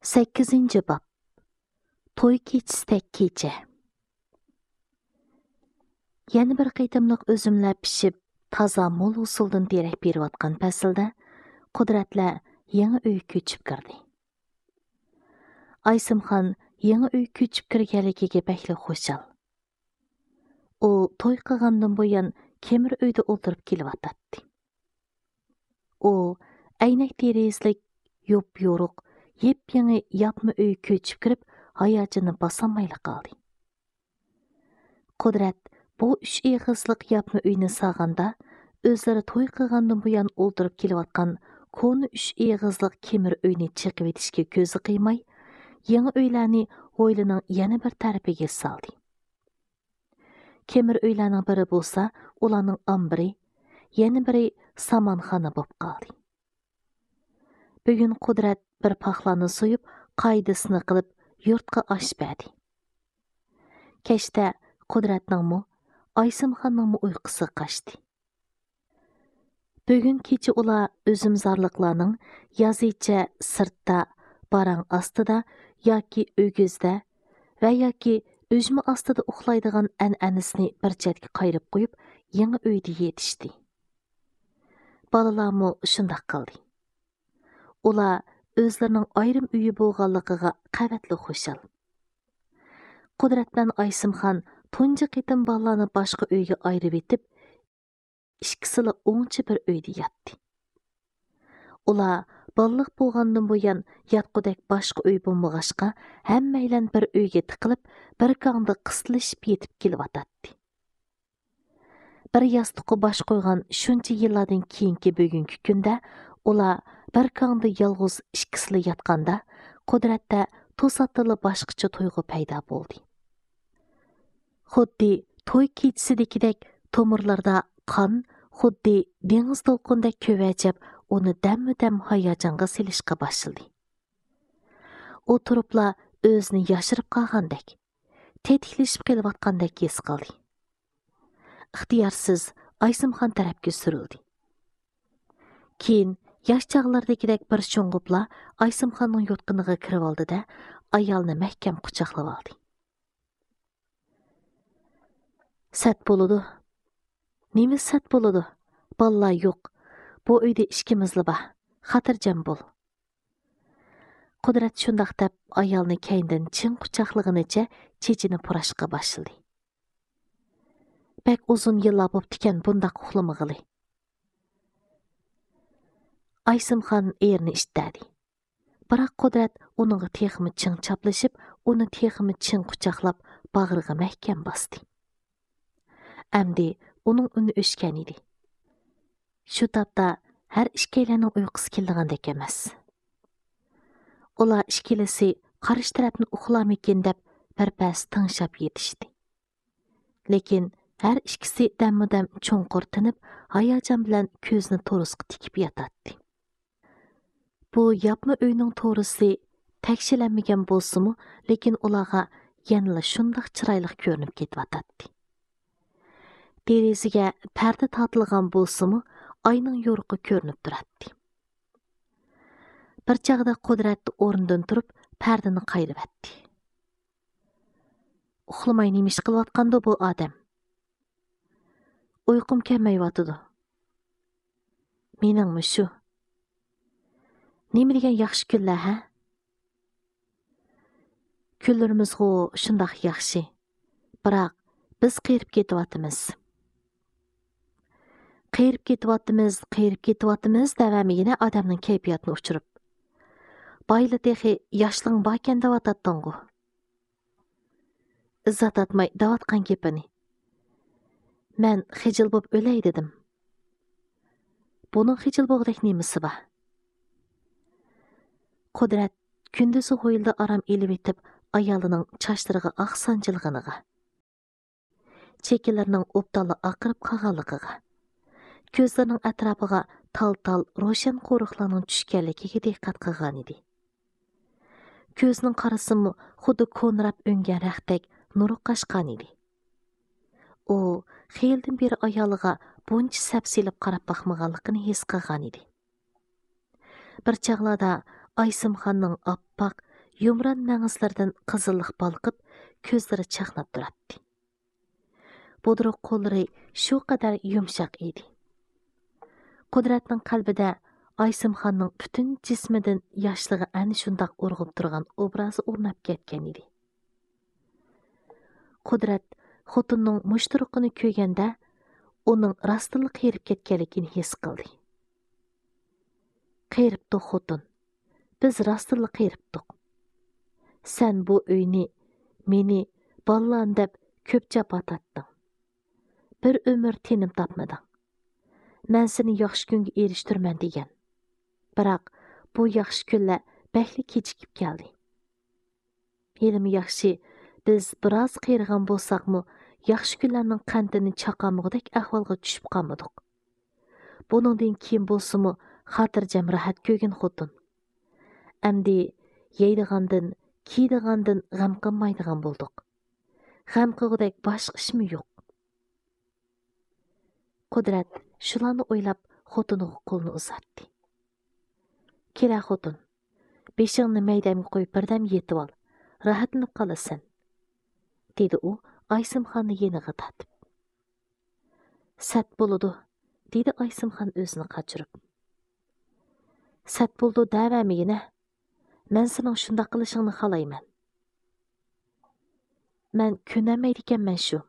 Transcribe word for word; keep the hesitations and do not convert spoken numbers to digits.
سەككىزىنچى باب. توي كېچىسىدەك كېچە. يەنە بىر قېتىملىق ئۈزۈملەر پىشىپ، تازا مول ھوسۇلدىن دېرەك بېرىۋاتقان پەسىلدە قۇدرەتلەر يېڭى ئۆيگە كۆچۈپ كىردى. ئايسىمخان يېڭى ئۆيگە كۆچۈپ كىرگەنلىكىگە بەكلا خۇشال. ئۇ توي قىلغاندىن بۇيان كېمىر ئۆيدە ئولتۇرۇپ كېلىۋاتاتتى. ئۇ ئەينەك دېرىزىلىك، يوپيورۇق، يېپيېڭى ياپما ئۆيگە كۆچۈپ كىرىپ، ھاياجىنىنى باسالمايلا قالدى. قۇدرەت بۇ ئۈچ ئېغىزلىق ياپما ئۆينى سالغاندا، ئۆزلىرى توي قىلغاندىن بۇيان ئولتۇرۇپ كېلىۋاتقان كونا ئۈچ ئېغىزلىق كېمىر ئۆينى چېقىۋېتىشكە كۆزى قىيماي، يېڭى ئۆيلەرنى ھويلىنىڭ يەنە بىر تەرىپىگە سالدى. كېمىر ئۆيلەرنىڭ بىرى بولسا ئۇلارنىڭ ئامبىرى، يەنە بىرى سامانخانا بولۇپ قالدى. بۈگۈن قۇدرەت بىر پاخلاننى سويۇپ، قائىدىسىنى قىلىپ، يۇرتقا ئاش بەردى. كەچتە قۇدرەتنىڭمۇ، ئايسىمخاننىڭمۇ ئۇيقۇسى قاچتى. بۈگۈن كېچە ئۇلار ئۈزۈمزارلىقلارنىڭ يازىچە سىرتتا، باراڭ ئاستىدا ياكى ئۆگزىدە ۋە ياكى ئۈجمە ئاستىدا ئۇخلايدىغان ئەنئەنىسىنى بىر چەتكە قايرىپ قويۇپ، يېڭى ئۆيدە يېتىشتى. بالىلارمۇ شۇنداق قىلدى. ئۇلار ئۆزلىرىنىڭ ئايرىم ئۆيى بولغانلىقىغا قەۋەتلا خۇشال. قۇدرەت بىلەن ئايسىمخان تۇنجى قېتىم بالىلارنى باشقا ئۆيگە ئايرىۋېتىپ، ئىككىسىلا ئوڭچە بىر ئۆيدە ياتتى. ئۇلار بالىلىق بولغاندىن بۇيان ياتقۇدەك باشقا ئۆي بولمىغاچقا، ھەممەيلەن بىر ئۆيگە تىقىلىپ، بىر كاڭدا قىستىلىشىپ يېتىپ كېلىۋاتاتتى. بىر ياستۇققا باش قويغان شۇنچە يىللاردىن كېيىنكى بۈگۈنكى كۈندە ئۇلار بىر كاڭدا يالغۇز ئىككىسىلا ياتقاندا، قۇدرەتتە توساتتىنلا باشقىچە تۇيغۇ پەيدا بولدى. خۇددى توي كېچىسىدىكىدەك تومۇرلىرىدا قان خۇددى دېڭىز دولقۇنىدەك كۆۋەجەپ، ئۇنى دەممۇ دەم ھاياجانغا سېلىشقا باشلىدى. ئۇ تۇرۇپلا ئۆزىنى ياشىرىپ قالغاندەك، تېتىكلىشىپ قېلىۋاتقاندەك ھېس قىلدى. ئىختىيارسىز ئايسىمخان تەرەپكە سۈرۈلدى. كېيىن ياش چاغلىرىدىكىدەك بىر شۇڭغۇپلا ئايسىمخاننىڭ يوتقىنىغا كىرىۋالدى-دە، ئايالنى مەھكەم قۇچاقلىۋالدى. سەت بولىدۇ. نېمە سەت بولىدۇ؟ بالىلار يوق. بۇ ئۆيدە ئىككىمىزلا بار. خاتىرجەم بول. قۇدرەت شۇنداق دەپ، ئايالنى كەينىدىن چىڭ قۇچاقلىغىنىچە چېچىنى پۇراشقا باشلىدى. بەك ئۇزۇن يىللار بوپتىكەن بۇنداق ئۇخلىمىغىلى. ئايسىمخان ئېرىنى ئىتتەدى. بىراق قۇدرەت ئۇنىڭغا تېخىمۇ چىڭ چاپلىشىپ، ئۇنى تېخىمۇ چىڭ قۇچاقلاپ، باغرىغا مەھكەم باستى. ئەمدى ئۇنىڭ ئۈنى ئۆچكەن ئىدى. شۇ تاپتا ھەر ئىككىيلەننىڭ ئۇيقۇسى كېلىدىغاندەك ئەمەس. ئۇلار ئىككىلىسى قارشى تەرەپنى ئۇخلارمىكىن دەپ بىر پەس تىڭشاپ يېتىشتى. لېكىن ھەر ئىككىسى دەممۇدەم چوڭقۇر تىنىپ، ھاياجان بىلەن كۆزىنى تورۇسقا تىكىپ ياتاتتى. بۇ ياپما ئۆينىڭ تورۇسى تەكشىلەنمىگەن بولسىمۇ، لېكىن ئۇلارغا يەنىلا شۇنداق چىرايلىق كۆرۈنۈپ كېتىۋاتاتتى. دېرىزىگە پەردە تارتىلغان بولسىمۇ، ئاينىڭ يورۇقى كۆرۈنۈپ تۇراتتى. بىر چاغدا قۇدرەت ئورنىدىن تۇرۇپ، پەردىنى قايرىۋەتتى. ئۇخلىماي نېمە ئىش قىلىۋاتقاندۇ بۇ ئادەم؟ ئۇيقۇم كەلمەيۋاتىدۇ. مېنىڭمۇ شۇ. نېمە دېگەن ياخشى كۈنلەر، ھە؟ كۈنلىرىمىزغۇ شۇنداق ياخشى. بىراق، بىز قېرىپ كېتىۋاتىمىز. قېرىپ كېتىۋاتىمىز، قېرىپ كېتىۋاتىمىز دەۋەرمىگىنە ئادەمنىڭ كەيپىياتىنى ئۇچۇرۇپ. بايلا تېخى ياشلىقىڭ باركەن دەۋاتاتتىڭغۇ. ئىززەت ئاتماي دەۋاتقان گېپىنى. مەن خىجىل بوپ ئۆلەي دېدىم. بۇنىڭ خىجىل بوغدەك نېمىسى بار؟ قۇدرەت كۈندۈزى ھويلىدا ئارام ئېلىۋېتىپ، ئايالىنىڭ چاچلىرىغا ئاق سانجىلغىنىغا، چېكىلىرىنىڭ ئوبدانلا ئاقىرىپ قالغانلىقىغا، كۆزلىرىنىڭ ئەتراپىغا تال-تال روشەن قورۇقلارنىڭ چۈشكەنلىكىگە دىققەت قىلغانىدى. كۆزىنىڭ قارىسىمۇ خۇددى كونىراپ ئۈنگەن رەختتەك نۇرى قاچقانىدى. ئۇ خېلىدىن بېرى ئايالىغا بۇنچە سەپسېلىپ قاراپ باقمىغانلىقىنى ھېس قىلغانىدى. بىر چاغلاردا ئايسىمخاننىڭ ئاپئاق، يۇمران مەڭزىلىرىدىن قىزىللىق بالقىپ، كۆزلىرى چاقناپ تۇراتتى. بۇدرۇق قوللىرى شۇ قەدەر يۇمشاق ئىدى. قۇدرەتنىڭ قەلبىدە ئايسىمخاننىڭ پۈتۈن جىسمىدىن ياشلىقى ئەنە شۇنداق ئۇرغۇپ تۇرغان ئوبرازى ئورناپ كەتكەن ئىدى. قۇدرەت خوتۇننىڭ مۇشتۇرقىنى كۆرگەندە، ئۇنىڭ راستتىنلا قېرىپ كەتكەنلىكىنى ھېس قىلدى. قېرىپتۇق خوتۇن، بىز راستتىنلا قېرىپتۇق. سەن بۇ ئۆينى، مېنى، بالىلارنى دەپ كۆپ جاپا تارتتىڭ. بىر ئۆمۈر تېنىم تاپمىدىڭ. مەن سېنى ياخشى كۈنگە ئېرىشتۈرىمەن دېگەن. بىراق بۇ ياخشى كۈنلەر بەكلا كېچىكىپ كەلدى. ھېلىمۇ ياخشى، بىز بىراز قېرىغان بولساقمۇ، ياخشى كۈنلەرنىڭ قەنتىنى چاقامىغۇدەك ئەھۋالغا چۈشۈپ قالمىدۇق. بۇنىڭدىن كېيىن بولسىمۇ خاتىرجەم راھەت كۆرگىن خوتۇن. ئەمدى يەيدىغاندىن، كىيىدىغاندىن غەم قىلمايدىغان بولدۇق. غەم قىلغۇدەك باشقا ئىشمۇ يوق. قۇدرەت شۇلارنى ئويلاپ خوتۇنىغا قولىنى ئۇزاتتى. كېلە خوتۇن، بېشىڭنى مەيدەمگە قويۇپ بىردەم يېتىۋال، راھەتلىنىپ قالىسەن، دېدى ئۇ ئايسىمخاننى يېنىغا تارتىپ. سەت بولىدۇ، دېدى ئايسىمخان ئۆزىنى قاچۇرۇپ. سەت بولىدۇ دەۋەرمىگىنە، مەن سېنىڭ شۇنداق قىلىشىڭنى خالايمەن. مەن كۆنەلمەيدىكەنمەن شۇ.